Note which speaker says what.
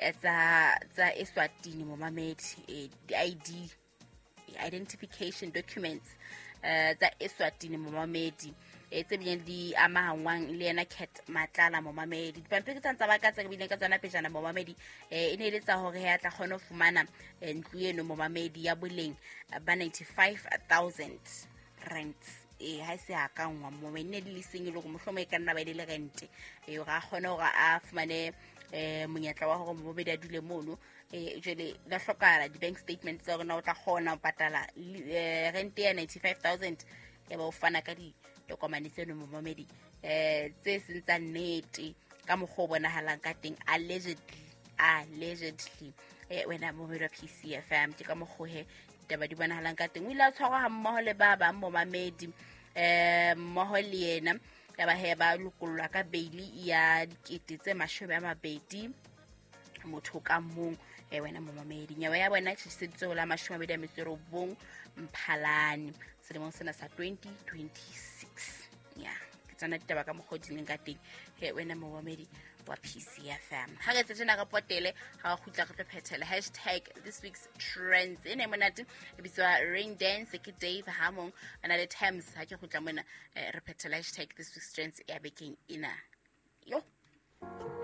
Speaker 1: tsa Eswatini momamedi, di-ID, identification documents tsa Eswatini momamedi, tse bileng di amahangwang le yena Cat Matlala momamedi. Dipampiri tsa ntsa ba ka tse re bileng ka tsona pejana momamedi, e ne e le tsa hore he a tla kgone ho fumana ntlo eno momamedi ya boleng ba 95,000 rands. Ha e se a ka nngwa momamedi, ne di le seng e le hore mohlomong e ka nna ba e le rente, hore a kgone hore a fumane monyetla wa hore momamedi a dule mono. Jwale la hlokahala di-bank statement tsa hore na o tla kgona ho patala rente ya 95,000, ya ba o fana ka ditokomane tseno momamedi, tse seng tsa nnete ka mokgwa o bonahalang ka teng, allegedly. Wena momamedi wa PCFM, ke ka mokgwa he ditaba di bonahalang ka teng. O ile a tshwarwa ha mmoho le ba bang momamedi, mmoho le yena, ya ba he ba lokollwa ka beili ya 20,000 motho ka mong. Wena momamedi, nyewe ya bona e tjhetjhiseditswe ho la 29 Mphalane selemong sena sa 2026. Ya ke tsona ditaba ka mokgwa o di leng ka teng he wena momamedi wa PCFM. Ha re etse tjena re potele, ha re kgutla re tlo phethela hashtag this week's trends. E ne monate, e bitswa Rain Dance ke Dave Hamong a na le Thames. Ha ke kgutla mona, re phethela hashtag this week's trends ya bekeng ena. Yo.